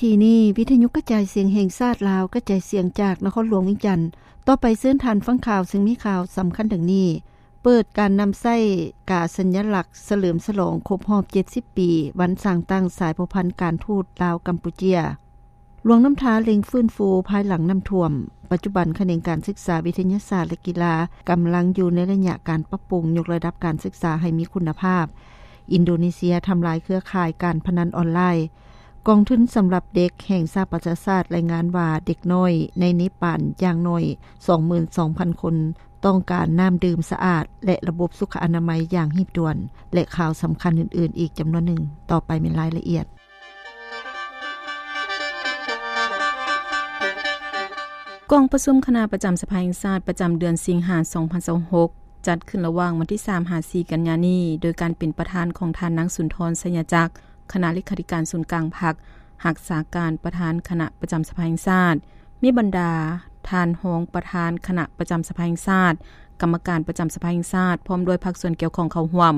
ທີ່ນີ້ ວິທະຍຸກະຈາຍສຽງແຫ່ງຊາດລາວ ກະຈາຍສຽງຈາກນະຄອນຫຼວງວຽງຈັນ. ຕໍ່ໄປເຊີນທ່ານຟັງຂ່າວ ເຊິ່ງມີຂ່າວສຳຄັນດັ່ງນີ້: ເປີດການນຳໃຊ້ກາສັນຍະລັກສະເຫຼີມສະຫຼອງຄົບຮອບເຈັດສິບປີ ວັນສ້າງຕັ້ງສາຍພົວພັນການທູດລາວ-ກຳປູເຈຍ. ຫຼວງນ້ຳທາເລັ່ງຟື້ນຟູພາຍຫຼັງນ້ຳຖ້ວມ. ປັດຈຸບັນຂະແໜງການສຶກສາ, ວິທະຍາສາດ ແລະ ກິລາກຳລັງຢູ່ໃນໄລຍະການປັບປຸງຍົກລະດັບການສຶກສາໃຫ້ມີຄຸນນະພາບ. ອິນໂດເນເຊຍທຳລາຍເຄືອຂ່າຍການພະນັນອອນລາຍ. ກອງທຶນສຳລັບເດັກແຫ່ງສະຫະປະຊາຊາດລາຍງານວ່າ ເດັກນ້ອຍໃນເນປານຢ່າງໜ້ອຍສອງໝື່ນສອງພັນຄົນ ຕ້ອງການນ້ຳດື່ມສະອາດ ແລະ ລະບົບສຸຂະອະນາໄມຢ່າງຮີບດ່ວນ ແລະ ຂ່າວສຳຄັນອື່ນໆອີກຈຳນວນໜຶ່ງ. ຕໍ່ໄປແມ່ນລາຍລະອຽດ. ກອງປະຊຸມຄະນະປະຈຳສະພາແຫ່ງຊາດ ປະຈຳເດືອນສິງຫາ ສອງພັນຊາວຫົກ ຈັດຂຶ້ນລະຫວ່າງວັນທີສາມ ຫາ ສີ່ ກັນຍານີ້ ໂດຍການເປັນປະທານຂອງທ່ານນາງ ສຸນທອນ ໄຊຍະຈັກ ຄະນະເລຂາທິການສູນກາງພັກ, ຮັກສາການປະທານຄະນະປະຈຳສະພາແຫ່ງຊາດ, ມີບັນດາທ່ານຮອງປະທານຄະນະປະຈຳສະພາແຫ່ງຊາດ, ກຳມະການປະຈຳສະພາແຫ່ງຊາດ ພ້ອມດ້ວຍພາກສ່ວນກ່ຽວຂ້ອງເຂົ້າຮ່ວມ.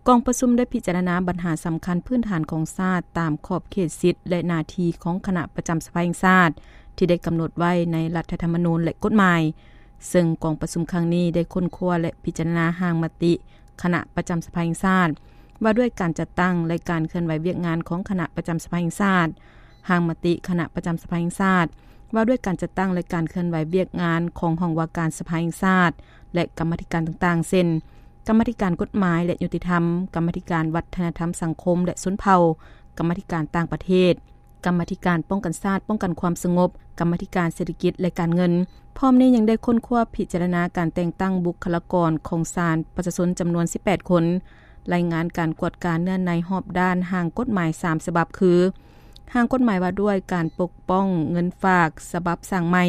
ກອງປະຊຸມໄດ້ພິຈາລະນາບັນຫາສຳຄັນພື້ນຖານຂອງຊາດ ຕາມຂອບເຂດສິດ ແລະ ໜ້າທີ່ຂອງຄະນະປະຈຳສະພາແຫ່ງຊາດ ທີ່ໄດ້ກຳນົດໄວ້ໃນລັດຖະທຳມະນູນ ແລະ ກົດໝາຍ, ເຊິ່ງກອງປະຊຸມຄັ້ງນີ້ໄດ້ຄົ້ນຄວ້າ ແລະ ພິຈາລະນາຮ່າງມະຕິຄະນະປະຈຳສະພາແຫ່ງຊາດ ວ່າດ້ວຍການຈັດຕັ້ງ ແລະ ການເຄື່ອນໄຫວວຽກງານຂອງຄະນະປະຈຳສະພາແຫ່ງຊາດ, ຮ່າງມະຕິຄະນະປະຈຳສະພາແຫ່ງຊາດ ວ່າດ້ວຍການຈັດຕັ້ງ ແລະ ການເຄື່ອນໄຫວວຽກງານຂອງຫ້ອງວ່າການສະພາແຫ່ງຊາດ ແລະ ກຳມາທິການຕ່າງໆ ເຊັ່ນ ກຳມາທິການກົດໝາຍ ແລະ ຍຸຕິທຳ, ກຳມາທິການວັດທະນະທຳສັງຄົມ ແລະ ຊົນເຜົ່າ, ກຳມາທິການຕ່າງປະເທດ, ກຳມາທິການປ້ອງກັນຊາດ, ປ້ອງກັນຄວາມສະຫງົບ, ກຳມາທິການເສດຖະກິດ ແລະ ການເງິນ. ພ້ອມນີ້ຍັງໄດ້ຄົ້ນຄວ້າພິຈາລະນາການແຕ່ງຕັ້ງບຸກຄະລາກອນຂອງສານປະຊາຊົນຈຳນວນສິບແປດຄົນ, ລາຍງານການກວດກາເນື້ອໃນຮອບດ້ານຮ່າງກົດໝາຍສາມສະບັບ ຄື ຮ່າງກົດໝາຍວ່າດ້ວຍການປົກປ້ອງເງິນຝາກສະບັບສ້າງໃໝ່,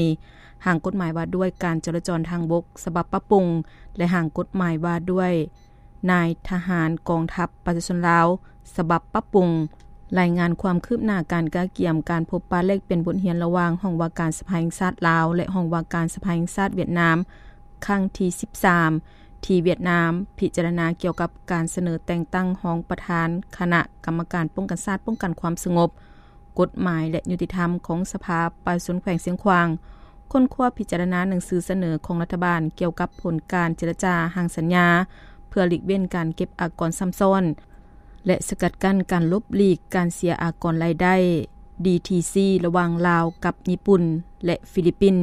ຮ່າງກົດໝາຍວ່າດ້ວຍການຈໍລະຈອນທາງບົກສະບັບປັບປຸງ ແລະ ຮ່າງກົດໝາຍວ່າດ້ວຍນາຍທະຫານກອງທັບປະຊາຊົນລາວສະບັບປັບປຸງ. ລາຍງານຄວາມຄືບໜ້າການກະກຽມການພົບປະແລກປ່ຽນບົດຮຽນລະຫວ່າງຫ້ອງວ່າການສະພາແຫ່ງຊາດລາວ ແລະ ຫ້ອງວ່າການສະພາແຫ່ງຊາດຫວຽດນາມ ຄັ້ງທີສິບສາມ ທີ່ຫວຽດນາມ ພິຈາລະນາກ່ຽວກັບການສະເໜີແຕ່ງຕັ້ງຮອງປະທານຄະນະກຳມະການປ້ອງກັນຊາດ ປ້ອງກັນຄວາມສະຫງົບ, ກົດໝາຍ ແລະ ຍຸຕິທຳຂອງສະພາປະຊາຊົນແຂວງຊຽງຂວາງ, ຄົ້ນຄວ້າພິຈາລະນາໜັງສືສະເໜີຂອງລັດຖະບານກ່ຽວກັບຜົນການເຈລະຈາຮ່າງສັນຍາ ເພື່ອຫຼີກເວັ້ນການເກັບອາກອນຊ້ຳຊ້ອນ ແລະ ສະກັດກັ້ນການຫຼົບຫຼີກການເສຍອາກອນລາຍໄດ້ ດີທີຊີ ລະຫວ່າງລາວກັບຍີ່ປຸ່ນ ແລະ ຟີລິບປິນ,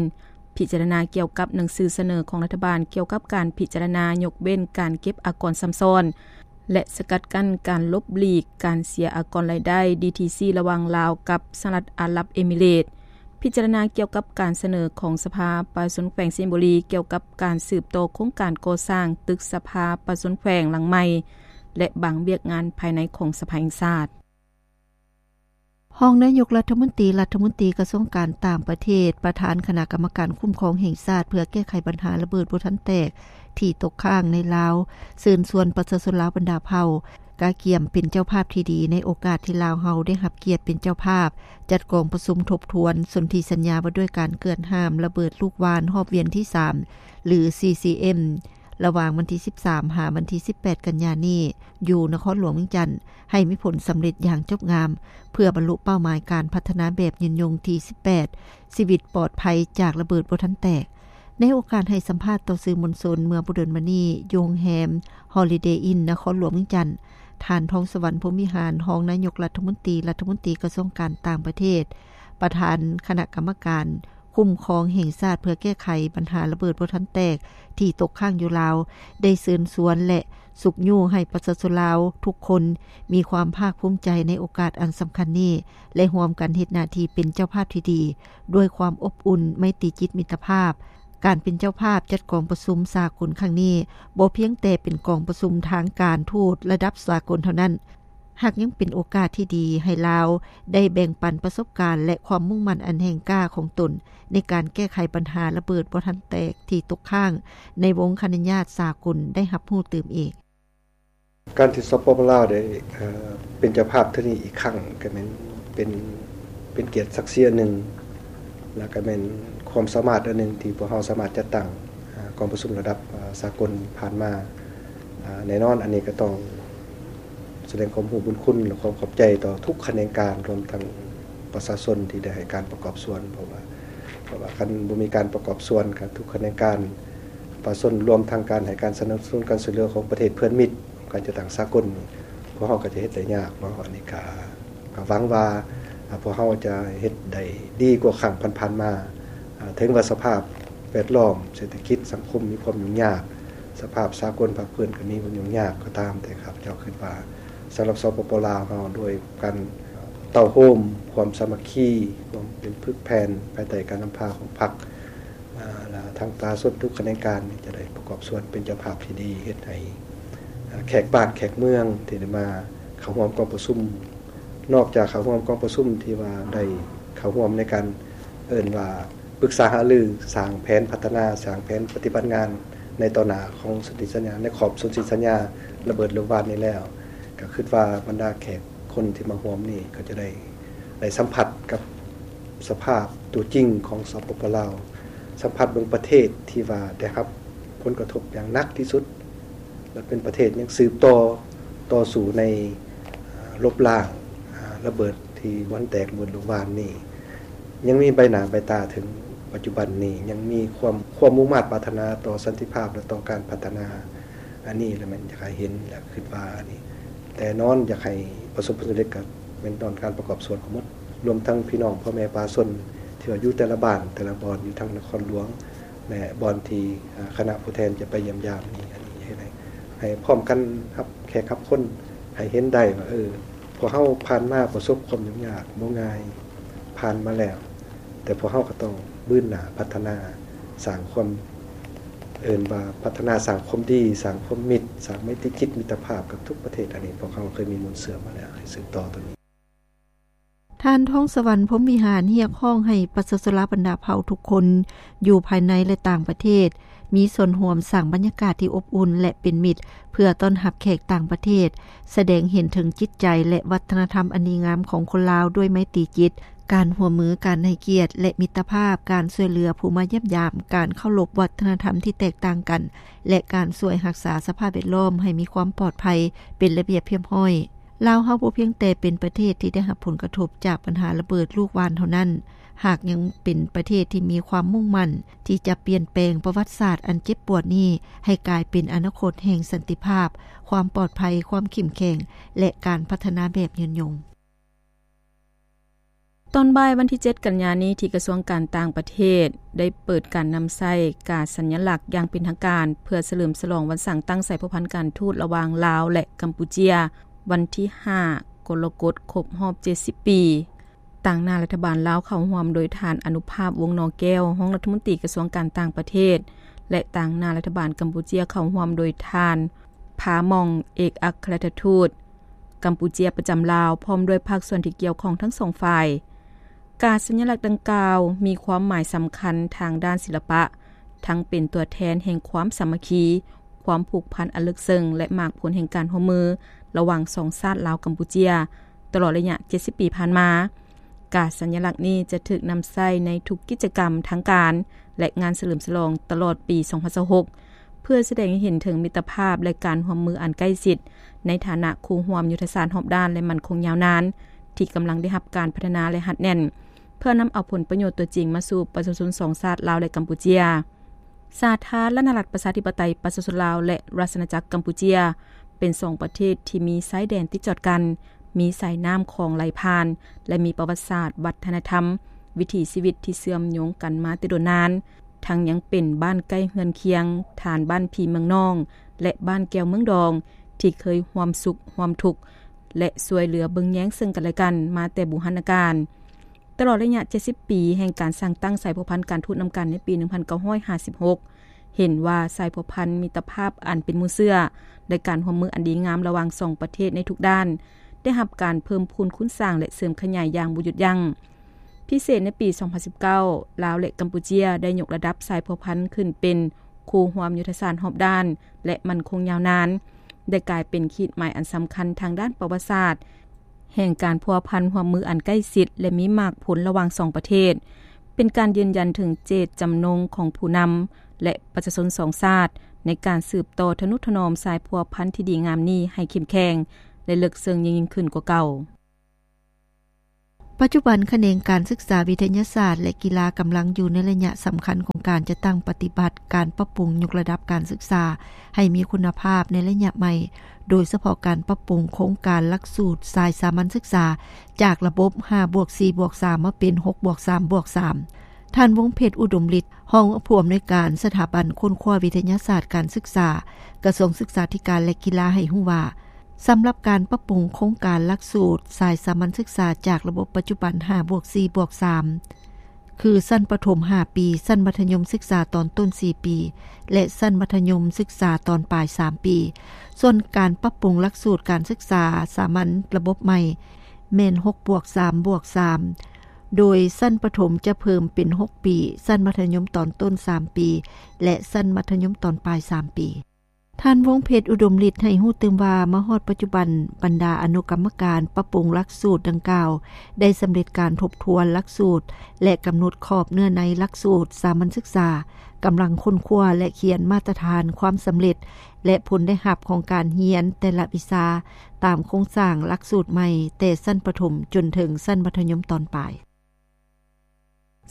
ພິຈາລະນາກ່ຽວກັບໜັງສືສະເໜີຂອງລັດຖະບານກ່ຽວກັບການພິຈາລະນາຍົກເວັ້ນການເກັບອາກອນຊ້ຳຊ້ອນ ແລະ ສະກັດກັ້ນການຫຼົບຫຼີກການເສຍອາກອນລາຍໄດ້ ດີທີຊີ ລະຫວ່າງລາວກັບສະຫະລັດອາຣັບເອມິເຣດ, ພິຈາລະນາກ່ຽວກັບການສະເໜີຂອງສະພາປະຊາຊົນແຂວງໄຊຍະບູລີກ່ຽວກັບການສືບຕໍ່ໂຄງການກໍ່ສ້າງຕຶກສະພາປະຊາຊົນແຂວງຫຼັງໃໝ່ ແລະ ບາງວຽກງານພາຍໃນຂອງສະພາແຫ່ງຊາດ. ຮອງນາຍົກລັດຖະມົນຕີ, ລັດຖະມົນຕີກະຊວງການຕ່າງປະເທດ, ປະທານຄະນະກຳມະການຄຸ້ມຄອງແຫ່ງຊາດເພື່ອແກ້ໄຂບັນຫາລະເບີດບໍ່ທັນແຕກທີ່ຕົກຄ້າງໃນລາວ ເຊີນຊວນປະຊາຊົນລາວບັນດາເຜົ່າ ກະກຽມເປັນເຈົ້າພາບທີ່ດີໃນໂອກາດທີ່ລາວເຮົາໄດ້ຮັບກຽດເປັນເຈົ້າພາບຈັດກອງປະຊຸມທົບທວນສົນທິສັນຍາວ່າດ້ວຍການເກືອດຫ້າມລະເບີດລູກຫວ່ານຮອບວຽນທີສາມ ຫຼື ຊີຊີເອັມ ລະຫວ່າງວັນທີສິບສາມ ຫາວັນທີສິບແປດ ກັນຍານີ້ ຢູ່ນະຄອນຫຼວງວຽງຈັນ ໃຫ້ມີຜົນສຳເລັດຢ່າງຈົບງາມ ເພື່ອບັນລຸເປົ້າໝາຍການພັດທະນາແບບຍືນຍົງທີສິບແປດ ຊີວິດປອດໄພຈາກລະເບີດບໍ່ທັນແຕກ. ໃນໂອກາດໃຫ້ສຳພາດຕໍ່ສື່ມວນຊົນເມື່ອບໍ່ດົນມານີ້ ຢູ່ໂຮງແຮມ Holiday Inn ນະຄອນຫຼວງວຽງຈັນ, ທ່ານ ທອງສະຫວັນ ພົມວິຫານ ຮອງນາຍົກລັດຖະມົນຕີ, ລັດຖະມົນຕີກະຊວງການຕ່າງປະເທດ, ປະທານຄະນະກຳມະການ ຄຸ້ມຄອງແຫ່ງຊາດເພື່ອແກ້ໄຂບັນຫາລະເບີດບໍ່ທັນແຕກທີ່ຕົກຄ້າງຢູ່ລາວ ໄດ້ເຊີນຊວນ ແລະ ຊຸກຍູ້ໃຫ້ປະຊາຊົນລາວທຸກຄົນມີຄວາມພາກພູມໃຈໃນໂອກາດອັນສຳຄັນນີ້ ແລະ ຮ່ວມກັນເຮັດໜ້າທີ່ເປັນເຈົ້າພາບທີ່ດີ ດ້ວຍຄວາມອົບອຸ່ນ, ໄມຕີຈິດມິດຕະພາບ. ການເປັນເຈົ້າພາບຈັດກອງປະຊຸມສາກົນຄັ້ງນີ້ ບໍ່ພຽງແຕ່ເປັນກອງປະຊຸມທາງການທູດລະດັບສາກົນເທົ່ານັ້ນ, ຫາກຍັງເປັນໂອກາດທີ່ດີໃຫ້ລາວໄດ້ແບ່ງປັນປະສົບການ ແລະ ຄວາມມຸ່ງໝັ້ນອັນແຮງກ້າຂອງຕົນ ໃນການແກ້ໄຂບັນຫາລະເບີດບໍ່ທັນແຕກທີ່ຕົກຄ້າງໃນວົງຄະນະຍາດສາກົນໄດ້ຮັບຮູ້ຕື່ມອີກ. ການທີ່ ສປປ ລາວ ໄດ້ ເອີ ເປັນເຈົ້າພາບເທື່ອນີ້ອີກຄັ້ງ ກໍແມ່ນເປັນ ເປັນກຽດສັກສີອັນໜຶ່ງ ແລ້ວກໍແມ່ນຄວາມສາມາດອັນໜຶ່ງທີ່ພວກເຮົາສາມາດຈັດຕັ້ງ ອາ ກອງປະຊຸມລະດັບ ອາ ສາກົນຜ່ານມາ. ອາ ແນ່ນອນ ອັນນີ້ກໍຕ້ອງສະແດງຄວາມຮູ້ບຸນຄຸນ ແລະ ຄວາມຂອບໃຈຕໍ່ທຸກຂະແໜງການ ລວມທັງ ປະຊາຊົນທີ່ໄດ້ໃຫ້ການປະກອບສ່ວນ ເພາະວ່າ ເພາະວ່າຄັນບໍ່ມີການປະກອບສ່ວນ ການທຸກຂະແໜງການ ປະຊາຊົນ ລວມທັງການໃຫ້ການສະໜັບສະໜູນການຊ່ວຍເຫຼືອຂອງປະເທດເພື່ອນມິດ ການຈັດຕັ້ງສາກົນ ພວກເຮົາກໍຈະເຮັດໄດ້ຍາກເນາະ. ອັນນີ້ກໍ ກໍຫວັງວ່າ ອາ ພວກເຮົາຈະເຮັດໄດ້ດີກວ່າຄັ້ງຜ່ານໆມາ. ອາ ເຖິງວ່າສະພາບແວດລ້ອມ ເສດຖະກິດ ສັງຄົມມີຄວາມຫຍຸ້ງຍາກ, ສະພາບສາກົນພາກພື້ນກໍມີຄວາມຫຍຸ້ງຍາກກໍຕາມ, ແຕ່ຂ້າພະເຈົ້າຄິດວ່າ ສຳລັບ ສປປ ລາວເຮົາ ດ້ວຍການເຕົ້າໂຮມຄວາມສາມັກຄີ ຄວາມເປັນປຶກແຜ່ນ ພາຍໃຕ້ການນຳພາຂອງພັກ ອາ ແລະ ທາງປະຊາຊົນທຸກຂະແໜງການນີ້ ຈະໄດ້ປະກອບສ່ວນເປັນເຈົ້າພາບທີ່ດີ ເຮັດໃຫ້ ອາ ແຂກບ້ານແຂກເມືອງທີ່ໄດ້ມາເຂົ້າຮ່ວມກອງປະຊຸມ ນອກຈາກເຂົ້າຮ່ວມກອງປະຊຸມທີ່ວ່າໄດ້ເຂົ້າຮ່ວມໃນການ ເອີ້ນວ່າປຶກສາຫາລື ສ້າງແຜນພັດທະນາ ສ້າງແຜນປະຕິບັດງານໃນຕໍ່ໜ້າຂອງສົນທິສັນຍາ ໃນຂອບສົນທິສັນຍາລະເບີດລູກຫວ່ານນີ້ແລ້ວ ກໍຄິດວ່າບັນດາແຂກຄົນທີ່ມາຮ່ວມນີ້ ກໍຈະໄດ້ ໄດ້ສຳຜັດກັບສະພາບຕົວຈິງຂອງ ສປປ ລາວ, ສຳຜັດເບິ່ງປະເທດທີ່ວ່າໄດ້ຮັບຜົນກະທົບຢ່າງໜັກທີ່ສຸດ ແລະ ເປັນປະເທດຍັງສືບຕໍ່ ຕໍ່ສູ້ໃນ ອາ ລົບລ້າງ ອາ ລະເບີດທີ່ບໍ່ທັນແຕກ ລະເບີດລູກຫວ່ານນີ້ ຍັງມີໃບໜ້າໃບຕາເຖິງປັດຈຸບັນນີ້ ຍັງມີຄວາມ ຄວາມມຸ່ງມາດປາດຖະໜາຕໍ່ສັນຕິພາບ ແລະ ຕໍ່ການພັດທະນາ. ອັນນີ້ລະແມ່ນຢາກໃຫ້ເຫັນ ແລະ ຄິດວ່າອັນນີ້ແນ່ນອນ ຢາກໃຫ້ປະສົບຜົນສຳເລັດ ກໍແມ່ນຕ້ອງການປະກອບສ່ວນຂອງໝົດ ລວມທັງພີ່ນ້ອງພໍ່ແມ່ປະຊາຊົນ ທີ່ວ່າຢູ່ແຕ່ລະບ້ານ ແຕ່ລະບ່ອນ ຢູ່ທາງນະຄອນຫຼວງ ແລະ ບ່ອນທີ່ ອາ ຄະນະຜູ້ແທນຈະໄປຢ້ຽມຢາມນີ້ ອັນນີ້ເຮັດໃຫ້ ໃຫ້ພ້ອມກັນຮັບແຂກຮັບຄົນ ໃຫ້ເຫັນໄດ້ວ່າ ເອີ ພວກເຮົາຜ່ານມາປະສົບຄວາມຫຍຸ້ງຍາກບໍ່ງ່າຍ ຜ່ານມາແລ້ວ ແຕ່ພວກເຮົາກໍຕ້ອງບືນໜ້າພັດທະນາ ສ້າງຄວາມ ເອີ້ນວ່າພັດທະນາ ສ້າງຄວາມດີ ສ້າງຄວາມມິດ ສ້າງໄມຕີຈິດມິດຕະພາບກັບທຸກປະເທດ. ອັນນີ້ພວກເຮົາເຄີຍມີມູນເຊື້ອມາແລ້ວ ໃຫ້ສືບຕໍ່ຕົວນີ້. ທ່ານ ທອງສະຫວັນ ພົມວິຫານ ຮຽກຮ້ອງໃຫ້ປະຊາຊົນລາວບັນດາເຜົ່າທຸກຄົນ ຢູ່ພາຍໃນ ແລະ ຕ່າງປະເທດ ມີສ່ວນຮ່ວມສ້າງບັນຍາກາດທີ່ອົບອຸ່ນ ແລະ ເປັນມິດ ເພື່ອຕ້ອນຮັບແຂກຕ່າງປະເທດ, ສະແດງເຫັນເຖິງຈິດໃຈ ແລະ ວັດທະນະທຳອັນດີງາມຂອງຄົນລາວດ້ວຍໄມຕີຈິດ, ການຮ່ວມມື, ການໃຫ້ກຽດ ແລະ ມິດຕະພາບ, ການຊ່ວຍເຫຼືອຜູ້ມາຢ້ຽມຢາມ, ການເຄົາລົບວັດທະນະທຳທີ່ແຕກຕ່າງກັນ ແລະ ການຊ່ວຍຮັກສາສະພາບແວດລ້ອມໃຫ້ມີຄວາມປອດໄພ, ເປັນລະບຽບຮຽບຮ້ອຍ. ລາວເຮົາບໍ່ພຽງແຕ່ເປັນປະເທດທີ່ໄດ້ຮັບຜົນກະທົບຈາກບັນຫາລະເບີດລູກຫວ່ານເທົ່ານັ້ນ, ຫາກຍັງເປັນປະເທດທີ່ມີຄວາມມຸ່ງໝັ້ນທີ່ຈະປ່ຽນແປງປະຫວັດສາດອັນເຈັບປວດນີ້ ໃຫ້ກາຍເປັນອະນາຄົດແຫ່ງສັນຕິພາບ, ຄວາມປອດໄພ, ຄວາມເຂັ້ມແຂງ ແລະ ການພັດທະນາແບບຍືນຍົງ. ຕອນບ່າຍວັນທີເຈັດ ກັນຍານີ້ ທີ່ກະຊວງການຕ່າງປະເທດ ໄດ້ເປີດການນຳໃຊ້ກາສັນຍະລັກຢ່າງເປັນທາງການ ເພື່ອສະເຫຼີມສະຫຼອງວັນສ້າງຕັ້ງສາຍພົວພັນການທູດລະຫວ່າງລາວ ແລະ ກຳປູເຈຍ ວັນທີຫ້າ ກໍລະກົດ ຄົບຮອບເຈັດສິບປີ. ຕາງໜ້າລັດຖະບານລາວເຂົ້າຮ່ວມໂດຍທ່ານ ອະນຸພາບ ວົງນໍແກ້ວ ຮອງລັດຖະມົນຕີກະຊວງການຕ່າງປະເທດ ແລະ ຕາງໜ້າລັດຖະບານກຳປູເຈຍເຂົ້າຮ່ວມໂດຍທ່ານ ພາມອງ ເອກອັກຄະລັດຖະທູດກຳປູເຈຍປະຈຳລາວ ພ້ອມດ້ວຍພາກສ່ວນທີ່ກ່ຽວຂ້ອງທັງສອງຝ່າຍ. ກາສັນຍະລັກດັ່ງກ່າວມີຄວາມໝາຍສຳຄັນທາງດ້ານສິລະປະ, ທັງເປັນຕົວແທນແຫ່ງຄວາມສາມັກຄີ, ຄວາມຜູກພັນອັນເລິກເຊິ່ງ ແລະ ໝາກຜົນແຫ່ງການຮ່ວມມືລະຫວ່າງສອງຊາດລາວ-ກຳປູເຈຍ ຕະຫຼອດໄລຍະເຈັດສິບປີຜ່ານມາ. ກາສັນຍະລັກນີ້ຈະຖືກນຳໃຊ້ໃນທຸກກິດຈະກຳທາງການ ແລະ ງານສະເຫຼີມສະຫຼອງຕະຫຼອດປີສອງພັນຊາວຫົກ ເພື່ອສະແດງໃຫ້ເຫັນເຖິງມິດຕະພາບ ແລະ ການຮ່ວມມືອັນໃກ້ຊິດ ໃນຖານະຄູ່ຮ່ວມຍຸດທະສາດຮອບດ້ານ ແລະ ໝັ້ນຄົງຍາວນານ ທີ່ກຳລັງໄດ້ຮັບການພັດທະນາ ແລະ ຮັດແໜ້ນ ເພື່ອນຳເອົາຜົນປະໂຫຍດຕົວຈິງມາສູ່ປະຊາຊົນສອງຊາດລາວ ແລະ ກຳປູເຈຍ. ສາທາລະນະລັດປະຊາທິປະໄຕປະຊາຊົນລາວ ແລະ ລາຊະອານາຈັກກຳປູເຈຍ ເປັນສອງປະເທດທີ່ມີຊາຍແດນຕິດຈອດກັນ, ມີສາຍນ້ຳຂອງໄຫຼຜ່ານ ແລະ ມີປະຫວັດສາດ, ວັດທະນະທຳ, ວິຖີຊີວິດທີ່ເຊື່ອມໂຍງກັນມາແຕ່ດົນນານ, ທັງຍັງເປັນບ້ານໃກ້ເຮືອນຄຽງ, ຖານບ້ານພີ່ເມືອງນ້ອງ ແລະ ບ້ານແກ້ວເມືອງດອງ ທີ່ເຄີຍຮ່ວມສຸກຮ່ວມທຸກ ແລະ ຊ່ວຍເຫຼືອເບິ່ງແຍງເຊິ່ງກັນແລະກັນມາແຕ່ບູຮານນະການ. ຕະຫຼອດໄລຍະເຈັດສິບປີແຫ່ງການສ້າງຕັ້ງສາຍພົວພັນການທູດນຳກັນໃນປີໜຶ່ງພັນເກົ້າຮ້ອຍຫ້າສິບຫົກ ເຫັນວ່າສາຍພົວພັນມິດຕະພາບອັນເປັນມູນເຊື້ອ ແລະ ການຮ່ວມມືອັນດີງາມລະຫວ່າງສອງປະເທດໃນທຸກດ້ານ ໄດ້ຮັບການເພີ່ມພູນຄູນສ້າງ ແລະ ເສີມຂະຫຍາຍຢ່າງບໍ່ຢຸດຢັ້ງ. ພິເສດໃນປີສອງພັນສິບເກົ້າ ລາວ ແລະ ກຳປູເຈຍ ໄດ້ຍົກລະດັບສາຍພົວພັນຂຶ້ນເປັນຄູ່ຮ່ວມຍຸດທະສາດຮອບດ້ານ ແລະ ໝັ້ນຄົງຍາວນານ, ໄດ້ກາຍເປັນຂີດໝາຍອັນສຳຄັນທາງດ້ານປະຫວັດສາດ ແຫ່ງການພົວພັນຮ່ວມມືອັນໃກ້ຊິດ ແລະ ມີໝາກຜົນລະຫວ່າງສອງປະເທດ, ເປັນການຢືນຢັນເຖິງເຈດຈຳນົງຂອງຜູ້ນຳ ແລະ ປະຊາຊົນສອງຊາດ ໃນການສືບຕໍ່ທະນຸຖະໜອມສາຍພົວພັນທີ່ດີງາມນີ້ໃຫ້ເຂັ້ມແຂງ ແລະ ເລິກເຊິ່ງຍິ່ງໆຂຶ້ນກວ່າເກົ່າ. ປັດຈຸບັນ, ຂະແໜງການສຶກສາວິທະຍາສາດ ແລະ ກິລາກຳລັງຢູ່ໃນໄລຍະສຳຄັນຂອງການຈັດຕັ້ງປະຕິບັດການປັບປຸງຍົກລະດັບການສຶກສາໃຫ້ມີຄຸນນະພາບໃນໄລຍະໃໝ່, ໂດຍສະເພາະການປັບປຸງໂຄງການຫຼັກສູດສາຍສາມັນສຶກສາ ຈາກລະບົບຫ້າບວກສີ່ບວກສາມ ມາເປັນຫົກບວກສາມບວກສາມ. ທ່ານ ວົງເພັດ ອຸດົມລິດ ຮອງຜູ້ອຳນວຍການສະຖາບັນຄົ້ນຄວ້າວິທະຍາສາດການສຶກສາ ກະຊວງສຶກສາທິການ ແລະ ກິລາ ໃຫ້ຮູ້ວ່າ, ສຳລັບການປັບປຸງໂຄງການຫຼັກສູດສາຍສາມັນສຶກສາຈາກລະບົບປັດຈຸບັນຫ້າບວກສີ່ບວກສາມ ຄື ຊັ້ນປະຖົມຫ້າປີ, ຊັ້ນມັດທະຍົມສຶກສາຕອນຕົ້ນສີ່ປີ ແລະ ຊັ້ນມັດທະຍົມສຶກສາຕອນປາຍສາມປີ. ສ່ວນການປັບປຸງຫຼັກສູດການສຶກສາສາມັນລະບົບໃໝ່ ແມ່ນຫົກບວກສາມບວກສາມ ໂດຍຊັ້ນປະຖົມຈະເພີ່ມເປັນຫົກປີ, ຊັ້ນມັດທະຍົມຕອນຕົ້ນສາມປີ ແລະ ຊັ້ນມັດທະຍົມຕອນປາຍສາມປີ. ທ່ານ ວົງເພັດ ອຸດົມລິດ ໃຫ້ຮູ້ຕື່ມວ່າ, ມາຮອດປັດຈຸບັນ, ບັນດາອະນຸກຳມະການປັບປຸງຫຼັກສູດດັ່ງກ່າວ ໄດ້ສຳເລັດການທົບທວນຫຼັກສູດ ແລະ ກຳນົດຂອບເນື້ອໃນຫຼັກສູດສາມັນສຶກສາ, ກຳລັງຄົ້ນຄວ້າ ແລະ ຂຽນມາດຕະຖານຄວາມສຳເລັດ ແລະ ຜົນໄດ້ຮັບຂອງການຮຽນແຕ່ລະວິຊາ ຕາມໂຄງສ້າງຫຼັກສູດໃໝ່ ແຕ່ຊັ້ນປະຖົມຈົນເຖິງຊັ້ນມັດທະຍົມຕອນປາຍ.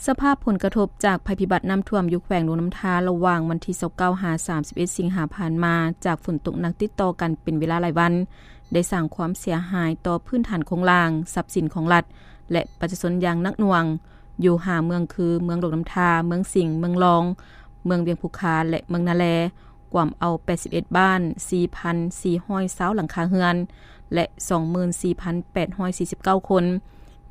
ສະພາບຜົນກະທົບຈາກໄພພິບັດນ້ຳຖ້ວມຢູ່ແຂວງຫຼວງນ້ຳທາ ລະຫວ່າງວັນທີຊາວເກົ້າ ຫາ ສາມສິບເອັດ ສິງຫາຜ່ານມາ, ຈາກຝົນຕົກໜັກຕິດຕໍ່ກັນເປັນເວລາຫຼາຍວັນ, ໄດ້ສ້າງຄວາມເສຍຫາຍຕໍ່ພື້ນຖານໂຄງລ່າງ, ຊັບສິນຂອງລັດ ແລະ ປະຊາຊົນຢ່າງໜັກໜ່ວງ ຢູ່ຫ້າເມືອງຄື ເມືອງຫຼວງນ້ຳທາ, ເມືອງສິງ, ເມືອງລອງ, ເມືອງວຽງພູຄາ ແລະ ເມືອງນາແລ, ກວມເອົາແປດສິບເອັດບ້ານ, ສີ່ພັນສີ່ຮ້ອຍຊາວຫຼັງຄາເຮືອນ ແລະ ສອງໝື່ນສີ່ພັນແປດຮ້ອຍສີ່ສິບເກົ້າຄົນ,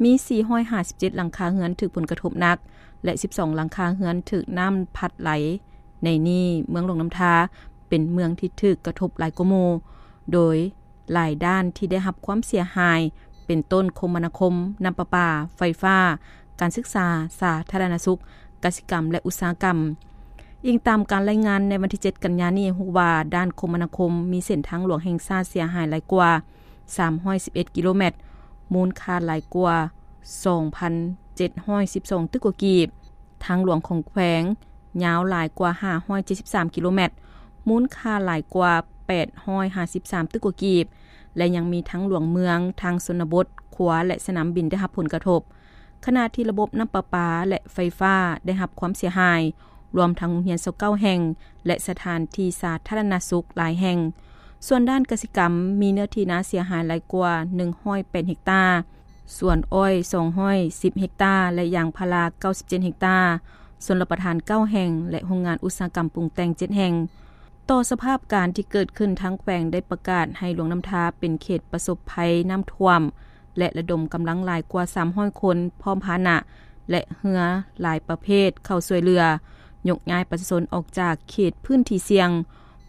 ມີສີ່ຮ້ອຍຫ້າສິບເຈັດຫຼັງຄາເຮືອນຖືກຜົນກະທົບໜັກ ແລະ ສິບສອງຫຼັງຄາເຮືອນຖືກນ້ຳພັດໄຫຼ. ໃນນີ້, ເມືອງຫຼວງນ້ຳທາເປັນເມືອງທີ່ຖືກກະທົບຫຼາຍກວ່າໝູ່, ໂດຍ ຫຼາຍດ້ານທີ່ໄດ້ຮັບຄວາມເສຍຫາຍ ເປັນຕົ້ນຄົມມະນາຄົມ, ນ້ຳປະປາ, ໄຟຟ້າ, ການສຶກສາ, ສາທາລະນະສຸກ, ກະສິກຳ ແລະ ອຸດສາຫະກຳ. ອີງຕາມການລາຍງານໃນວັນທີເຈັດ ກັນຍານີ້ ຮູ້ວ່າດ້ານຄົມມະນາຄົມມີເສັ້ນທາງຫຼວງແຫ່ງຊາດເສຍຫາຍຫຼາຍກວ່າສາມຮ້ອຍສິບເອັດກິໂລແມັດ, ມູນຄ່າຫຼາຍກວ່າສອງພັນເຈັດຮ້ອຍສິບສອງຕື້ກວ່າກີບ. ທາງຫຼວງຂອງແຂວງຍາວຫຼາຍກວ່າຫ້າຮ້ອຍເຈັດສິບສາມກິໂລແມັດ, ມູນຄ່າຫຼາຍກວ່າແປດຮ້ອຍຫ້າສິບສາມຕື້ກວ່າກີບ ແລະ ຍັງມີທາງຫຼວງເມືອງ, ທາງຊົນນະບົດ, ຂົວ ແລະ ສະໜາມບິນໄດ້ຮັບຜົນກະທົບ, ຂະນະທີ່ລະບົບນ້ຳປະປາ ແລະ ໄຟຟ້າໄດ້ຮັບຄວາມເສຍຫາຍ, ລວມທັງໂຮງຮຽນຊາວເກົ້າແຫ່ງ ແລະ ສະຖານທີ່ສາທາລະນະສຸກຫຼາຍແຫ່ງ. ສ່ວນດ້ານກະສິກຳ ມີເນື້ອທີ່ນາເສຍຫາຍຫຼາຍກວ່າໜຶ່ງຮ້ອຍແປດເຮັກຕາ, ສວນອ້ອຍສອງຮ້ອຍສິບເຮັກຕາ ແລະ ຢາງພາລາເກົ້າສິບເຈັດເຮັກຕາ, ຊົນລະປະທານເກົ້າແຫ່ງ ແລະ ໂຮງງານອຸດສາຫະກຳປຸງແຕ່ງເຈັດແຫ່ງ. ຕໍ່ສະພາບການທີ່ເກີດຂຶ້ນ, ທາງແຂວງໄດ້ປະກາດໃຫ້ຫຼວງນ້ຳທາເປັນເຂດປະສົບໄພນ້ຳຖ້ວມ ແລະ ລະດົມກຳລັງຫຼາຍກວ່າສາມຮ້ອຍຄົນ, ພ້ອມພາຫະນະ ແລະ ເຮືອຫຼາຍປະເພດເຂົ້າຊ່ວຍເຫຼືອ, ຍົກຍ້າຍປະຊາຊົນອອກຈາກເຂດພື້ນທີ່ສ່ຽງ.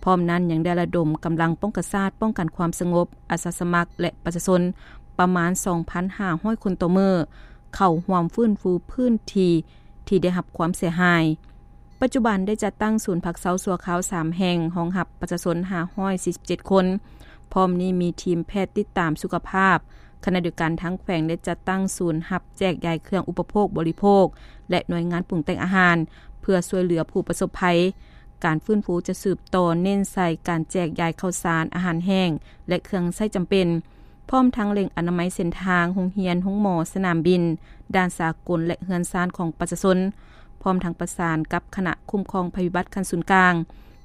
ພ້ອມນັ້ນຍັງໄດ້ລະດົມກຳລັງປ້ອງກັນຊາດ, ປ້ອງກັນຄວາມສະຫງົບ, ອາສາສະໝັກ ແລະ ປະຊາຊົນປະມານສອງພັນຫ້າຮ້ອຍຄົນຕໍ່ມື້ ເຂົ້າຮ່ວມຟື້ນຟູພື້ນທີ່ທີ່ໄດ້ຮັບຄວາມເສຍຫາຍ. ປັດຈຸບັນໄດ້ຈັດຕັ້ງສູນພັກເຊົາຊົ່ວຄາວສາມແຫ່ງ, ຮອງຮັບປະຊາຊົນຫ້າຮ້ອຍສີ່ສິບເຈັດຄົນ. ພ້ອມນີ້ມີທີມແພດຕິດຕາມສຸຂະພາບ. ຂະນະດຽວກັນ, ທາງແຂວງໄດ້ຈັດຕັ້ງສູນຮັບແຈກຢາຍເຄື່ອງອຸປະໂພກບໍລິໂພກ ແລະ ໜ່ວຍງານປຸງແຕ່ງອາຫານ ເພື່ອຊ່ວຍເຫຼືອຜູ້ປະສົບໄພ. ການຟື້ນຟູຈະສືບຕໍ່ເນັ້ນໃສ່ການແຈກຢາຍເຂົ້າສານ, ອາຫານແຫ້ງ ແລະ ເຄື່ອງໃຊ້ຈຳເປັນ, ພ້ອມທັງເລັ່ງອະນາໄມເສັ້ນທາງ, ໂຮງຮຽນ, ໂຮງໝໍ, ສະໜາມບິນ, ດ່ານສາກົນ ແລະ ເຮືອນຊານຂອງປະຊາຊົນ, ພ້ອມທັງປະສານກັບຄະນະຄຸ້ມຄອງໄພພິບັດຂັ້ນສູນກາງ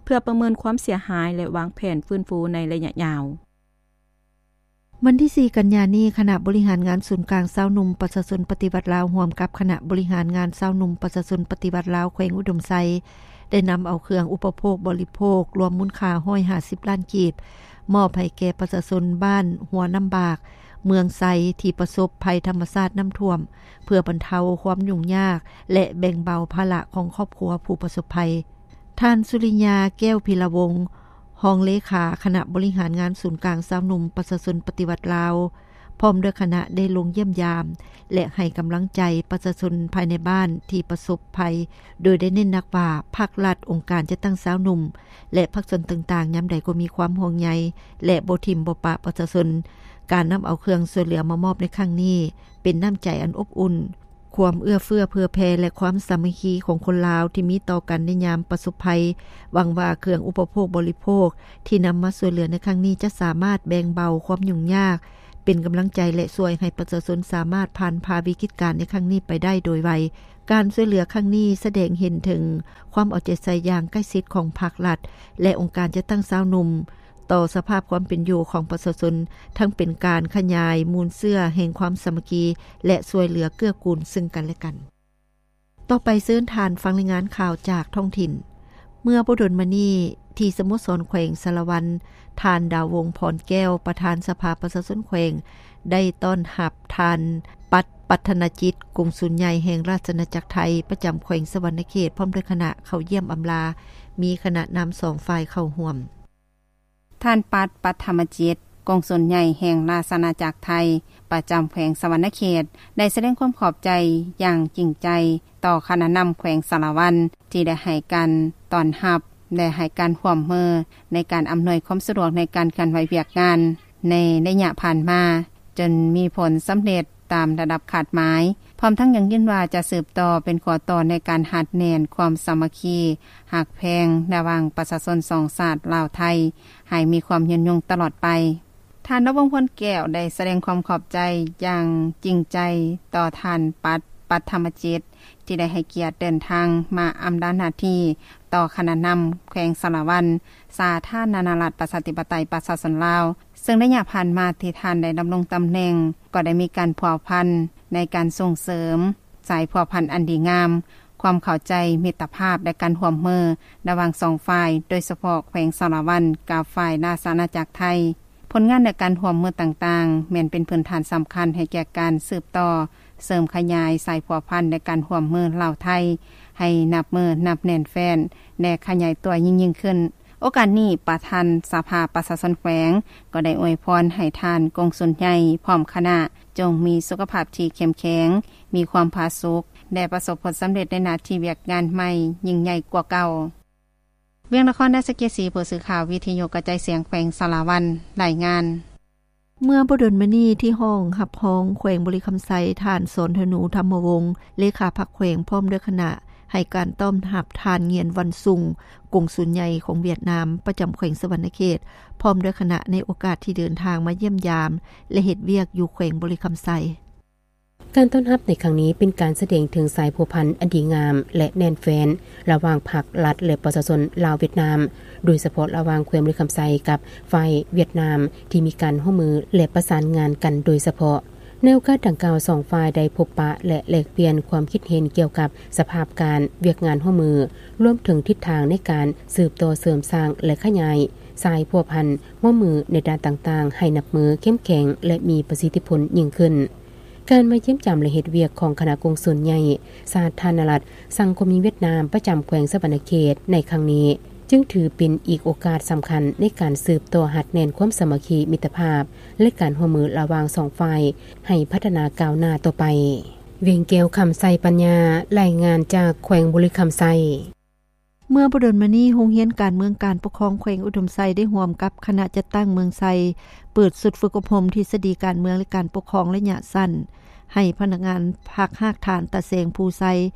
ເພື່ອປະເມີນຄວາມເສຍຫາຍ ແລະ ວາງແຜນຟື້ນຟູໃນໄລຍະຍາວ. ວັນທີສີ່ ກັນຍານີ້, ຄະນະບໍລິຫານງານສູນກາງຊາວໜຸ່ມປະຊາຊົນປະຕິວັດລາວ ຮ່ວມກັບຄະນະບໍລິຫານງານຊາວໜຸ່ມປະຊາຊົນປະຕິວັດລາວແຂວງອຸດົມໄຊ ໄດ້ນຳເອົາເຄື່ອງອຸປະໂພກບໍລິໂພກ ລວມມູນຄ່າຮ້ອຍຫ້າສິບລ້ານກີບ ມອບໃຫ້ແກ່ປະຊາຊົນບ້ານຫົວນ້ຳບາກ, ເມືອງໄຊ ທີ່ປະສົບໄພທຳມະຊາດນ້ຳຖ້ວມ ເພື່ອບັນເທົາຄວາມຫຍຸ້ງຍາກ ແລະ ແບ່ງເບົາພາລະຂອງຄອບຄົວຜູ້ປະສົບໄພ. ທ່ານ ສຸລິຍາ ແກ້ວພິລະວົງ ຮອງເລຂາຄະນະບໍລິຫານງານສູນກາງຊາວໜຸ່ມປະຊາຊົນປະຕິວັດລາວ ພ້ອມດ້ວຍຄະນະໄດ້ລົງຢ້ຽມຢາມ ແລະ ໃຫ້ກຳລັງໃຈປະຊາຊົນພາຍໃນບ້ານທີ່ປະສົບໄພ, ໂດຍໄດ້ເນັ້ນໜັກວ່າ ພາກລັດ, ອົງການຈັດຕັ້ງຊາວໜຸ່ມ ແລະ ພາກສ່ວນຕ່າງໆ ຍາມໃດກໍມີຄວາມຫ່ວງໃຍ ແລະ ບໍ່ຖິ້ມບໍ່ປະປະຊາຊົນ. ການນຳເອົາເຄື່ອງຊ່ວຍເຫຼືອມາມອບໃນຄັ້ງນີ້ ເປັນນ້ຳໃຈອັນອົບອຸ່ນ, ຄວາມເອື້ອເຟື້ອເຜື່ອແຜ່ ແລະ ຄວາມສາມັກຄີຂອງຄົນລາວທີ່ມີຕໍ່ກັນໃນຍາມປະສົບໄພ. ຫວັງວ່າເຄື່ອງອຸປະໂພກບໍລິໂພກທີ່ນຳມາຊ່ວຍເຫຼືອໃນຄັ້ງນີ້ ຈະສາມາດແບ່ງເບົາຄວາມຫຍຸ້ງຍາກ ເປັນກຳລັງໃຈ ແລະ ຊ່ວຍໃຫ້ປະຊາຊົນສາມາດຜ່ານຜ່າວິກິດການໃນຄັ້ງນີ້ໄປໄດ້ໂດຍໄວ. ການຊ່ວຍເຫຼືອຄັ້ງນີ້ສະແດງເຫັນເຖິງຄວາມເອົາໃຈໃສ່ຢ່າງໃກ້ຊິດຂອງພາກລັດ ແລະ ອົງການຈັດຕັ້ງຊາວໜຸ່ມ ຕໍ່ສະພາບຄວາມເປັນຢູ່ຂອງປະຊາຊົນ, ທັງເປັນການຂະຫຍາຍມູນເຊື້ອແຫ່ງຄວາມສາມັກຄີ ແລະ ຊ່ວຍເຫຼືອເກື້ອກູນເຊິ່ງກັນແລະກັນ. ຕໍ່ໄປເຊີນທ່ານຟັງລາຍງານຂ່າວຈາກທ້ອງຖິ່ນ. ເມື່ອບໍ່ດົນມານີ້ ທີ່ສະໂມສອນແຂວງສາລະວັນ, ທ່ານ ດາວວົງ ພອນແກ້ວ ປະທານສະພາປະຊາຊົນແຂວງ ໄດ້ຕ້ອນຮັບທ່ານ ປັດ ປັດທະນະຈິດ ກົງສຸນໃຫຍ່ແຫ່ງລາຊະອານາຈັກໄທ ປະຈຳແຂວງສະຫວັນນະເຂດ ພ້ອມດ້ວຍຄະນະເຂົ້າຢ້ຽມອຳລາ, ມີຄະນະນຳສອງຝ່າຍເຂົ້າຮ່ວມ. ທ່ານ ປັດ ປັດທະມະຈິດ ກົງສຸນໃຫຍ່ແຫ່ງລາຊະອານາຈັກໄທ ປະຈຳແຂວງສະຫວັນນະເຂດ ໄດ້ສະແດງຄວາມຂອບໃຈຢ່າງຈິງໃຈຕໍ່ຄະນະນຳແຂວງສາລະວັນ ທີ່ໄດ້ໃຫ້ການຕ້ອນຮັບ ແລະ ໃຫ້ການຮ່ວມມືໃນການອຳນວຍຄວາມສະດວກໃນການເຄື່ອນໄຫວວຽກງານໃນໄລຍະຜ່ານມາ, ຈົນມີຜົນສຳເລັດຕາມລະດັບຄາດໝາຍ, ພ້ອມທັງຢັ້ງຢືນວ່າຈະສືບຕໍ່ເປັນຂົວຕໍ່ໃນການຮັດແໜ້ນຄວາມສາມັກຄີ ຮັກແພງລະຫວ່າງປະຊາຊົນສອງຊາດລາວ-ໄທ ໃຫ້ມີຄວາມຍືນຍົງຕະຫຼອດໄປ. ທ່ານ ດາວວົງ ພອນແກ້ວ ໄດ້ສະແດງຄວາມຂອບໃຈຢ່າງຈິງໃຈຕໍ່ທ່ານ ປັດ ປັດທະມະຈິດ ທີ່ໄດ້ໃຫ້ກຽດເດີນທາງມາອຳລາໜ້າທີ່ຕໍ່ຄະນະນຳແຂວງສາລະວັນ ສາທາລະນະລັດ ປະຊາທິປະໄຕ ປະຊາຊົນລາວ, ເຊິ່ງໄລຍະຜ່ານມາທີ່ທ່ານໄດ້ດຳລົງຕຳແໜ່ງ ກໍໄດ້ມີການພົວພັນໃນການສົ່ງເສີມສາຍພົວພັນອັນດີງາມ, ຄວາມເຂົ້າໃຈ, ມິດຕະພາບ ແລະ ການຮ່ວມມືລະຫວ່າງສອງຝ່າຍ, ໂດຍສະເພາະແຂວງສາລະວັນກັບຝ່າຍລາຊະອານາຈັກໄທ. ຜົນງານ ແລະ ການຮ່ວມມືຕ່າງໆ ແມ່ນເປັນພື້ນຖານສຳຄັນໃຫ້ແກ່ການສືບຕໍ່ເສີມຂະຫຍາຍສາຍພົວພັນ ແລະ ການຮ່ວມມືລາວ-ໄທ ໃຫ້ນັບມື້ນັບແໜ້ນແຟ້ນ ແລະ ຂະຫຍາຍຕົວຍິ່ງໆຂຶ້ນ. ໂອກາດນີ້ ປະທານສະພາປະຊາຊົນແຂວງ ກໍໄດ້ອວຍພອນໃຫ້ທ່ານ ກົງສຸນໃຫຍ່ ພ້ອມຄະນະ ຈົ່ງມີສຸຂະພາບທີ່ເຂັ້ມແຂງ, ມີຄວາມຜາສຸກ ແລະ ປະສົບຜົນສຳເລັດໃນໜ້າທີ່ວຽກງານໃໝ່ຍິ່ງໃຫຍ່ກວ່າເກົ່າ. ວຽງນະຄອນ ດາສະເກສີ ຜູ້ສື່ຂ່າວວິທະຍຸກະຈາຍສຽງແຂວງສາລະວັນ ລາຍງານ. ເມື່ອບໍ່ດົນມານີ້ ທີ່ຫ້ອງຮັບຮອງແຂວງບໍລິຄຳໄຊ ທ່ານ ສອນທະນູ ທຳມະວົງ ເລຂາພັກແຂວງ ພ້ອມດ້ວຍຄະນະ ໃຫ້ການຕ້ອນຮັບທ່ານ ງຽນ ວັນຊຸງ ກົງສຸນໃຫຍ່ຂອງຫວຽດນາມ ປະຈຳແຂວງສະຫວັນນະເຂດ ພ້ອມດ້ວຍຄະນະ ໃນໂອກາດທີ່ເດີນທາງມາຢ້ຽມຢາມ ແລະ ເຮັດວຽກຢູ່ແຂວງບໍລິຄຳໄຊ. ການຕ້ອນຮັບໃນຄັ້ງນີ້ເປັນການສະແດງເຖິງສາຍພົວພັນອັນດີງາມ ແລະ ແໜ້ນແຟ້ນລະຫວ່າງພັກລັດ ແລະ ປະຊາຊົນລາວ-ຫວຽດນາມ, ໂດຍສະເພາະລະຫວ່າງແຂວງບໍລິຄຳໄຊກັບຝ່າຍຫວຽດນາມ ທີ່ມີການຮ່ວມມື ແລະ ປະສານງານກັນໂດຍສະເພາະ. ໃນໂອກາດດັ່ງກ່າວ, ສອງຝ່າຍໄດ້ພົບປະ ແລະ ແລກປ່ຽນຄວາມຄິດເຫັນກ່ຽວກັບສະພາບການ, ວຽກງານຮ່ວມມື, ລວມເຖິງທິດທາງໃນການສືບຕໍ່ເສີມສ້າງ ແລະ ຂະຫຍາຍສາຍພົວພັນຮ່ວມມືໃນດ້ານຕ່າງໆ ໃຫ້ນັບມື້ເຂັ້ມແຂງ ແລະ ມີປະສິດທິຜົນຍິ່ງຂຶ້ນ. ການມາຢ້ຽມຢາມ ແລະ ເຮັດວຽກຂອງຄະນະກົງສຸນໃຫຍ່ສາທາລະນະລັດສັງຄົມຍິງຫວຽດນາມ ປະຈຳແຂວງສະຫວັນນະເຂດໃນຄັ້ງນີ້ ຈຶ່ງຖືເປັນອີກໂອກາດສຳຄັນໃນການສືບຕໍ່ຮັດແໜ້ນຄວາມສາມັກຄີມິດຕະພາບ ແລະ ການຮ່ວມມືລະຫວ່າງສອງຝ່າຍໃຫ້ພັດທະນາກ້າວໜ້າຕໍ່ໄປ. ວຽງແກ້ວ ຄຳໄຊປັນຍາ ລາຍງານຈາກແຂວງບໍລິຄຳໄຊ. ເມື່ອບໍ່ດົນມານີ້, ໂຮງຮຽນການເມືອງການປົກຄອງແຂວງອຸດົມໄຊ ໄດ້ຮ່ວມກັບຄະນະຈັດຕັ້ງເມືອງໄຊ ເປີດຊຸດຝຶກອົບຮົມທິດສະດີການເມືອງ ແລະ ການປົກຄອງໄລຍະສັ້ນ ໃຫ້ພະນັກງານພັກຮາກຖານຕາແສງພູໄຊ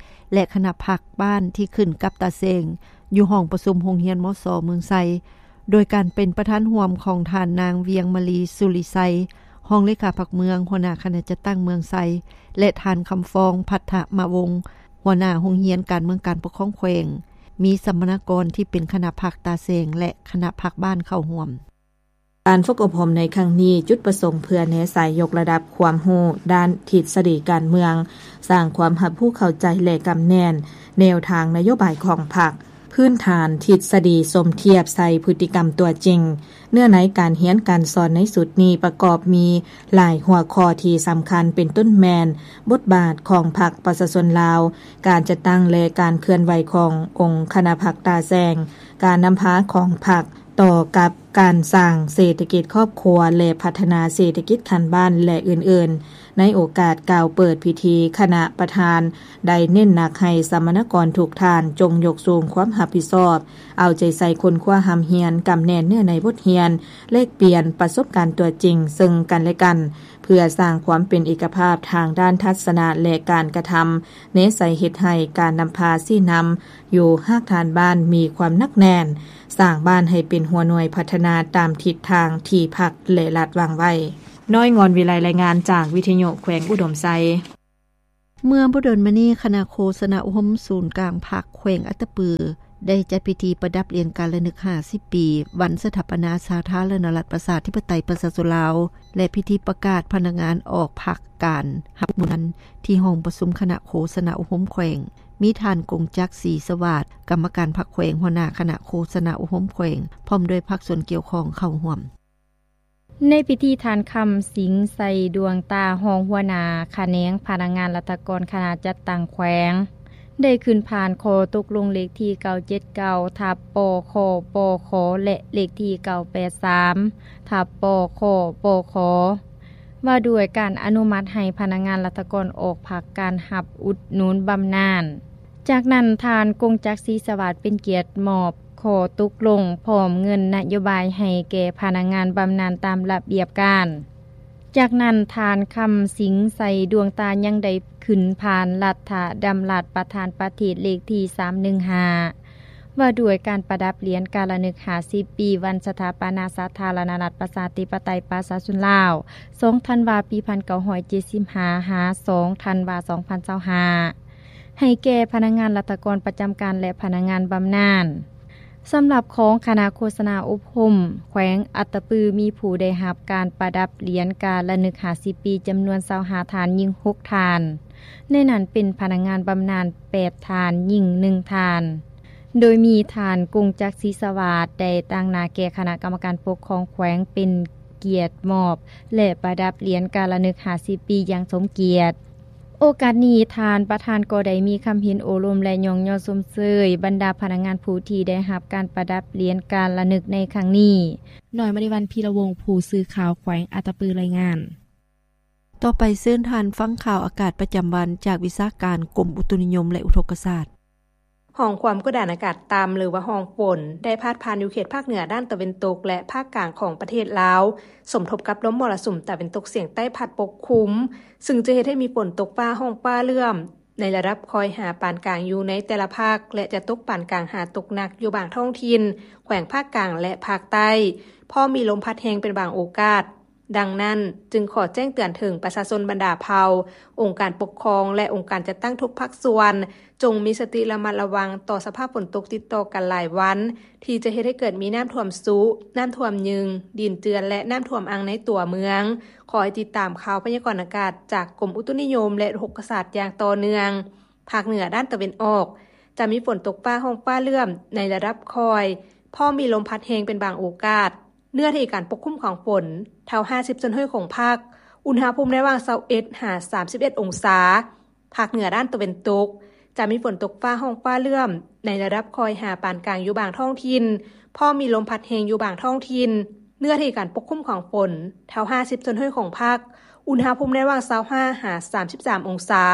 ແລະ ຄະນະພັກບ້ານທີ່ຂຶ້ນກັບຕາແສງ ຢູ່ຫ້ອງປະຊຸມໂຮງຮຽນ ມສ ເມືອງໄຊ, ໂດຍການເປັນປະທານຮ່ວມຂອງທ່ານນາງ ວຽງມະລີ ສຸລິໄຊ ຮອງເລຂາພັກເມືອງ, ຫົວໜ້າຄະນະຈັດຕັ້ງເມືອງໄຊ ແລະ ທ່ານ ຄຳຟອງ ພັດທະມະວົງ ຫົວໜ້າໂຮງຮຽນການເມືອງການປົກຄອງແຂວງ, ມີສຳມະນາກອນທີ່ເປັນຄະນະພັກຕາແສງ ແລະ ຄະນະພັກບ້ານເຂົ້າຮ່ວມ. ການຝຶກອົບຮົມໃນຄັ້ງນີ້ ຈຸດປະສົງເພື່ອແນໃສ່ຍົກລະດັບຄວາມຮູ້ດ້ານທິດສະດີການເມືອງ, ສ້າງຄວາມຮັບຮູ້ເຂົ້າໃຈ ແລະ ກຳແໜ້ນແນວທາງນະໂຍບາຍຂອງພັກ, ພື້ນຖານທິດສະດີສົມທຽບໃສ່ພຶດຕິກຳຕົວຈິງ. ເນື້ອໃນການຮຽນການສອນໃນຊຸດນີ້ປະກອບມີຫຼາຍຫົວຂໍ້ທີ່ສຳຄັນ ເປັນຕົ້ນແມ່ນ ບົດບາດຂອງພັກປະຊາຊົນລາວ, ການຈັດຕັ້ງ ແລະ ການເຄື່ອນໄຫວຂອງອົງຄະນະພັກຕາແສງ, ການນຳພາຂອງພັກຕໍ່ກັບການສ້າງເສດຖະກິດຄອບຄົວ ແລະ ພັດທະນາເສດຖະກິດຂັ້ນບ້ານ ແລະ ອື່ນໆ. ໃນໂອກາດກ່າວເປີດພິທີ, ຄະນະປະທານໄດ້ເນັ້ນໜັກໃຫ້ສຳມະນາກອນທຸກທ່ານຈົ່ງຍົກສູງຄວາມຮັບຜິດຊອບ, ເອົາໃຈໃສ່ຄົ້ນຄວ້າຮ່ຳຮຽນ, ກຳແໜ້ນເນື້ອໃນບົດຮຽນ, ແລກປ່ຽນປະສົບການຕົວຈິງເຊິ່ງກັນແລະກັນ, ເພື່ອສ້າງຄວາມເປັນເອກະພາບທາງດ້ານທັດສະນະ ແລະ ການກະທຳ, ແນໃສ່ເຮັດໃຫ້ການນຳພາຊີ້ນຳຢູ່ຮາກຖານບ້ານມີຄວາມໜັກແໜ້ນ, ສ້າງບ້ານໃຫ້ເປັນຫົວໜ່ວຍພັດທະນາຕາມທິດທາງທີ່ພັກ ແລະ ລັດວາງໄວ້. ນ້ອຍງອນວິໄລ ລາຍງານຈາກວິທະຍຸແຂວງອຸດົມໄຊ. ເມື່ອບໍ່ດົນມານີ້ ຄະນະໂຄສະນາອົບຮົມສູນກາງພັກແຂວງອັດຕະປື ໄດ້ຈັດພິທີປະດັບຫຼຽນການລະນຶກຫ້າສິບປີ ວັນສະຖາປະນາສາທາລະນະລັດ ປະຊາທິປະໄຕ ປະຊາຊົນລາວ ແລະ ພິທີປະກາດພະນັກງານອອກພັກການຮັບເງິນ ທີ່ຫ້ອງປະຊຸມຄະນະໂຄສະນາອົບຮົມແຂວງ ມີທ່ານ ກົງຈັກ ສີສະຫວາດ ກຳມະການພັກແຂວງ ຫົວໜ້າຄະນະໂຄສະນາອົບຮົມແຂວງ ພ້ອມດ້ວຍພາກສ່ວນກ່ຽວຂ້ອງເຂົ້າຮ່ວມ. ໃນພິທີ ທ່ານ ຄຳສິງ ໄຊດວງຕາ ຮອງຫົວໜ້າຂະແໜງພະນັກງານລັດຖະກອນຄະນະຈັດຕັ້ງແຂວງ ໄດ້ຂຶ້ນຜ່ານຂໍ້ຕົກລົງເລກທີ ເກົ້າເຈັດເກົ້າ ທັບ ປຄ ປຂ ແລະ ເລກທີ ເກົ້າແປດສາມ ທັບ ປຄ ປຂ ວ່າດ້ວຍການອະນຸມັດໃຫ້ພະນັກງານລັດຖະກອນອອກພັກການຮັບອຸດໜູນບຳນານ. ຈາກນັ້ນ ທ່ານ ກົງຈັກ ສີສະຫວາດ ເປັນກຽດມອບ ຂໍ້ຕົກລົງພ້ອມເງິນນະໂຍບາຍໃຫ້ແກ່ພະນັກງານບຳນານຕາມລະບຽບການ. ຈາກນັ້ນ ທ່ານ ຄຳສິງ ໄຊດວງຕາ ຍັງໄດ້ຂຶ້ນຜ່ານລັດຖະດຳລັດປະທານປະເທດເລກທີ ສາມໜຶ່ງຫ້າ ວ່າດ້ວຍການປະດັບຫຼຽນການລະນຶກຫ້າສິບປີ ວັນສະຖາປະນາສາທາລະນະລັດ ປະຊາທິປະໄຕ ປະຊາຊົນລາວ ສອງທັນວາ ປີພັນເກົ້າຮ້ອຍເຈັດສິບຫ້າ ຫາ ສອງທັນວາ ສອງພັນຊາວຫ້າ ໃຫ້ແກ່ພະນັກງານລັດຖະກອນປະຈຳການ ແລະ ພະນັກງານບຳນານ. ສຳລັບຂອງຄະນະໂຄສະນາອົບຮົມແຂວງອັດຕະປື ມີຜູ້ໄດ້ຮັບການປະດັບຫຼຽນການລະນຶກຫ້າສິບປີ ຈຳນວນຊາວຫ້າທ່ານ, ຍິງຫົກທ່ານ, ໃນນັ້ນເປັນພະນັກງານບຳນານແປດທ່ານ, ຍິງໜຶ່ງທ່ານ. ໂດຍມີທ່ານ ກົງຈັກ ສີສະຫວາດ ໄດ້ຕາງໜ້າແກ່ຄະນະກຳມະການປົກຄອງແຂວງ ເປັນກຽດມອບ ແລະ ປະດັບຫຼຽນການລະນຶກຫ້າສິບປີຢ່າງສົມກຽດ. ໂອກາດນີ້ ທ່ານປະທານກໍໄດ້ມີຄຳເຫັນໂອ້ລົມ ແລະ ຍ້ອງຍໍຊົມເຊີຍບັນດາພະນັກງານຜູ້ທີ່ໄດ້ຮັບການປະດັບຫຼຽນການລະນຶກໃນຄັ້ງນີ້. ນ້ອຍມະນີວັນ ພີລະວົງ ຜູ້ສື່ຂ່າວແຂວງອັດຕະປື ລາຍງານ. ຕໍ່ໄປເຊີນທ່ານຟັງຂ່າວອາກາດປະຈຳວັນຈາກວິຊາການກົມອຸຕຸນິຍົມ ແລະ ອຸທົກກະສາດ. ຮ່ອງຄວາມກົດດັນອາກາດຕ່ຳ ຫຼືວ່າຮ່ອງຝົນ ໄດ້ພາດຜ່ານຢູ່ເຂດພາກເໜືອດ້ານຕາເວັນຕົກ ແລະ ພາກກາງຂອງປະເທດລາວ, ສົມທົບກັບລົມມໍລະສຸມຕາເວັນຕົກສຽງໃຕ້ພັດປົກຄຸມ, ຊຶ່ງຈະເຮັດໃຫ້ມີຝົນຕົກຟ້າຮ້ອງຟ້າເຫຼື້ອມໃນລະດັບຄ່ອຍຫາປານກາງຢູ່ໃນແຕ່ລະພາກ ແລະ ຈະຕົກປານກາງຫາຕົກໜັກຢູ່ບາງທ້ອງຖິ່ນ ແຂວງພາກກາງ ແລະ ພາກໃຕ້, ພ້ອມມີລົມພັດແຮງເປັນບາງໂອກາດ. ດັ່ງນັ້ນ, ຈຶ່ງຂໍແຈ້ງເຕືອນເຖິງປະຊາຊົນບັນດາເຜົ່າ, ອົງການປົກຄອງ ແລະ ອົງການຈັດຕັ້ງທຸກພາກສ່ວນ, ຈົ່ງມີສະຕິລະມັດລະວັງຕໍ່ສະພາບຝົນຕົກຕິດຕໍ່ກັນຫຼາຍວັນ, ທີ່ຈະເຮັດໃຫ້ເກີດມີນ້ຳຖ້ວມຊຸ, ນ້ຳຖ້ວມຍຶງ, ດິນເຈື່ອນ ແລະ ນ້ຳຖ້ວມອັ່ງໃນຕົວເມືອງ. ຂໍໃຫ້ຕິດຕາມຂ່າວພະຍາກອນອາກາດຈາກກົມອຸຕຸນິຍົມ ແລະ ອຸທົກກະສາດຢ່າງຕໍ່ເນື່ອງ. ພາກເໜືອດ້ານຕາເວັນອອກ ຈະມີຝົນຕົກຟ້າຮ້ອງຟ້າເຫຼື້ອມໃນລະດັບຄ່ອຍ, ພ້ອມມີລົມພັດແຮງເປັນບາງໂອກາດ. ເນື້ອທີ່ການປົກຄຸມຂອງຝົນ ເທົ່າຫ້າສິບສ່ວນຮ້ອຍຂອງພາກ, ອຸນຫະພູມໃນລະຫວ່າງຊາວເອັດຫາສາມສິບເອັດອົງສາ. ພາກເໜືອດ້ານຕາເວັນຕົກ ຈະມີຝົນຕົກຟ້າຮ້ອງຟ້າເຫຼື້ອມໃນລະດັບຄ່ອຍຫາປານກາງຢູ່ບາງທ້ອງຖິ່ນ, ພ້ອມມີລົມພັດແຮງຢູ່ບາງທ້ອງຖິ່ນ. ເນື້ອທີ່ການປົກຄຸມຂອງຝົນ ເທົ່າຫ້າສິບສ່ວນຮ້ອຍຂອງພາກ, ອຸນຫະພູມໃນລະຫວ່າງຊາວຫ້າຫາສາມສິບສາມອົງສາ.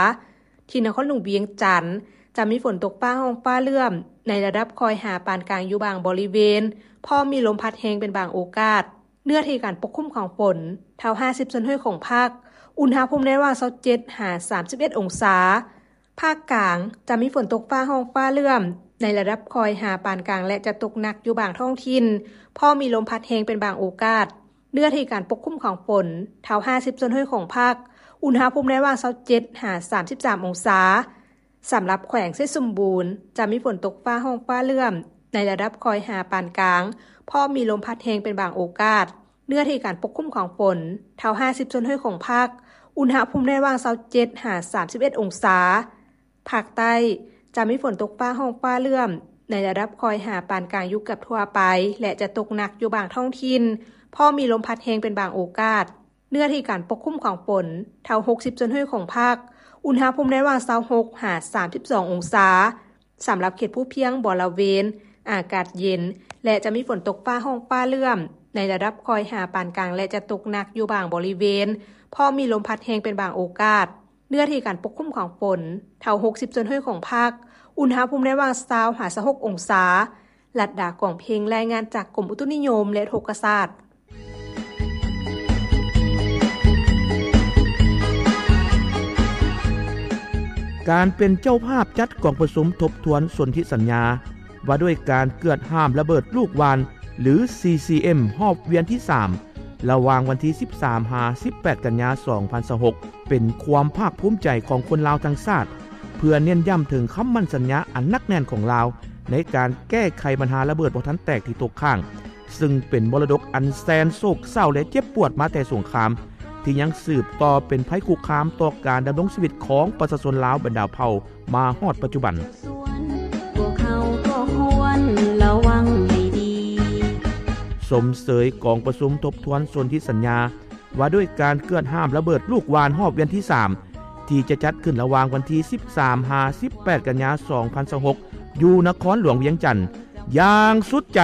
ທີ່ນະຄອນຫຼວງວຽງຈັນ ຈະມີຝົນຕົກຟ້າຮ້ອງຟ້າເຫຼື້ອມໃນລະດັບຄ່ອຍຫາປານກາງຢູ່ບາງບໍລິເວນ, ພ້ອມມີລົມພັດແຮງເປັນບາງໂອກາດ. ເນື້ອທີ່ການປົກຄຸມຂອງຝົນ ເທົ່າຫ້າສິບສ່ວນຮ້ອຍຂອງພາກ, ອຸນຫະພູມໃນລະຫວ່າງຊາວເຈັດຫາສາມສິບເອັດອົງສາ. ພາກກາງ ຈະມີຝົນຕົກຟ້າຮ້ອງຟ້າເຫຼື້ອມໃນລະດັບຄ່ອຍຫາປານກາງ ແລະ ຈະຕົກໜັກຢູ່ບາງທ້ອງຖິ່ນ, ພ້ອມມີລົມພັດແຮງເປັນບາງໂອກາດ. ເນື້ອທີ່ການປົກຄຸມຂອງຝົນ ເທົ່າຫ້າສິບສ່ວນຮ້ອຍຂອງພາກ, ອຸນຫະພູມໃນລະຫວ່າງຊາວເຈັດຫາສາມສິບສາມອົງສາ. ສຳລັບແຂວງໄຊສົມບູນ ຈະມີຝົນຕົກຟ້າຮ້ອງຟ້າເຫຼື້ອມໃນລະດັບຄ່ອຍຫາປານກາງ, ພ້ອມມີລົມພັດແຮງເປັນບາງໂອກາດ. ເນື້ອທີ່ການປົກຄຸມຂອງຝົນ ເທົ່າຫ້າສິບສ່ວນຮ້ອຍຂອງພາກ, ອຸນຫະພູມໃນລະຫວ່າງຊາວເຈັດຫາສາມສິບເອັດອົງສາ. ພາກໃຕ້ ຈະມີຝົນຕົກຟ້າຮ້ອງຟ້າເຫຼື້ອມໃນລະດັບຄ່ອຍຫາປານກາງຢູ່ເກືອບທົ່ວໄປ ແລະ ຈະຕົກໜັກຢູ່ບາງທ້ອງຖິ່ນ, ພ້ອມມີລົມພັດແຮງເປັນບາງໂອກາດ. ເນື້ອທີ່ການປົກຄຸມຂອງຝົນ ເທົ່າຫົກສິບສ່ວນຮ້ອຍຂອງພາກ, ອຸນຫະພູມໃນລະຫວ່າງຊາວຫົກຫາສາມສິບສອງອົງສາ. ສຳລັບເຂດພູພຽງບໍລະເວນ ອາກາດເຢັນ ແລະ ຈະມີຝົນຕົກຟ້າຮ້ອງຟ້າເຫຼື້ອມໃນລະດັບຄ່ອຍຫາປານກາງ ແລະ ຈະຕົກໜັກຢູ່ບາງບໍລິເວນ, ພ້ອມມີລົມພັດແຮງເປັນບາງໂອກາດ. ເນື້ອທີ່ການປົກຄຸມຂອງຝົນ ເທົ່າຫົກສິບສ່ວນຮ້ອຍຂອງພາກ, ອຸນຫະພູມໃນລະຫວ່າງຊາວຫາຊາວຫົກອົງສາ. ລັດດາ ກອງເພັງ ລາຍງານຈາກກົມອຸຕຸນິຍົມ ແລະ ອຸທົກກະສາດ. ການເປັນເຈົ້າພາບຈັດກອງປະຊຸມທົບທວນສົນທິສັນຍາ ວ່າດ້ວຍການເກືອດຫ້າມລະເບີດລູກຫວ່ານ ຫຼື ຊີຊີເອັມ ຮອບວຽນທີສາມ ລະຫວ່າງວັນທີສິບສາມຫາສິບແປດກັນຍາສອງພັນຊາວຫົກ ເປັນຄວາມພາກພູມໃຈຂອງຄົນລາວທັງຊາດ ເພື່ອເນັ້ນຢ້ຳເຖິງຄຳໝັ້ນສັນຍາອັນໜັກແໜ້ນຂອງລາວ ໃນການແກ້ໄຂບັນຫາລະເບີດບໍ່ທັນແຕກທີ່ຕົກຄ້າງ ຊຶ່ງເປັນມໍລະດົກອັນແສນໂສກເສົ້າ ແລະ ເຈັບປວດມາແຕ່ສົງຄາມ ທີ່ຍັງສືບຕໍ່ເປັນໄພຄຸກຄາມຕໍ່ການດຳລົງຊີວິດຂອງປະຊາຊົນລາວບັນດາເຜົ່າມາຮອດປັດຈຸບັນ. ພວກເຮົາກໍຄວນລະວັງໃຫ້ດີ. ຊົມເຊີຍກອງປະຊຸມທົບທວນສົນທິສັນຍາ ວ່າດ້ວຍການເກືອດຫ້າມລະເບີດລູກຫວ່ານຮອບວຽນທີສາມ ທີ່ຈະຈັດຂຶ້ນລະຫວ່າງວັນທີສິບສາມຫາສິບແປດກັນຍາສອງພັນຊາວຫົກ ຢູ່ນະຄອນຫຼວງວຽງຈັນ ຢ່າງສຸດໃຈ.